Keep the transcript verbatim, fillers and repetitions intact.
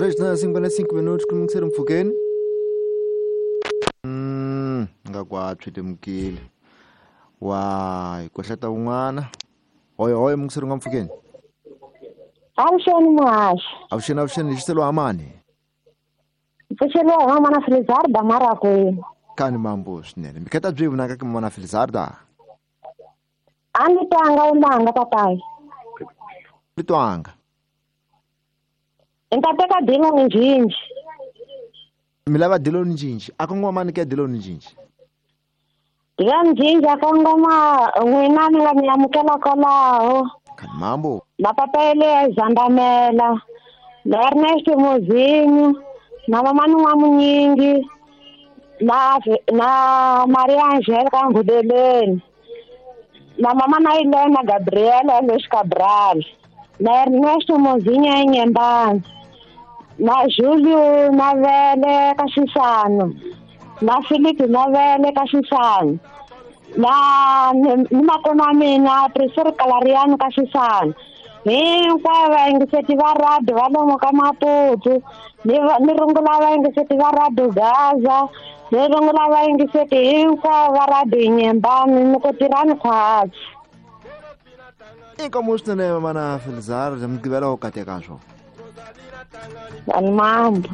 Três na cinquenta e cinco minutos ku mungiseri mpfhukeni. Mm, nga kwa tswitemukile. Wa hi kohleta un'wana. Hoyo hoyo mungiseri nga mpfhukeni. Avuxeni muhaxi. Avuxeni avuxeni lexiselo amani. Pfuxeliwa hi mamana Felizarda Marakwini. Kani mambo swinene. Mikheta byi vonaka ka mamana Felizarda. A ni twanga unanga papayi. Ni twanga. Ni ta teka Diloni Njinji. Mi lava Diloni Njinji. A kongoma ni ke Diloni Njinji. Diloni Njinji a kongoma n'wina mi nga mi amukela kwalaho. Kani mambo. Na papa le Zandamela. Na Ernest Mozinho. Na mamani wa Munyingi. Na na Maria Angelica Ngudeleni. Na mama na Helena Gabriela Luiz Cabral. Na Ernesto Mozinho em Nhembane. Na Júlio Mavele Caxixano. Na Felipe Mavele Caxixano. Na nima mina Priscila Calariano Caxixano. Hinkwavo vayingiseti va radio va lomu ka Maputo. Ni ni rungula vayingiseti va radio Gaza. Ni rungula vayingiseti hinkwavo va radio Nyembani ni ku tirhani khwatsi. Inkomo swinene mamana Felizarda mugqivela wo kateka swo. Vanhu mambo.